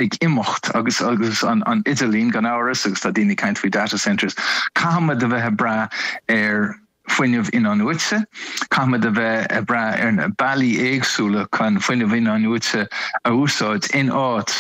Ag imeacht agus agus an idirlíon gan amhras agus tá daoine ag caint faoi data centres, caithfimid a bheith ag brath ar fuinneamh in-athnuaite, caithfimid a bheith ag brath ar na bealaí éagsúla chun fuinneamh in-athnuaite a úsáid in áit.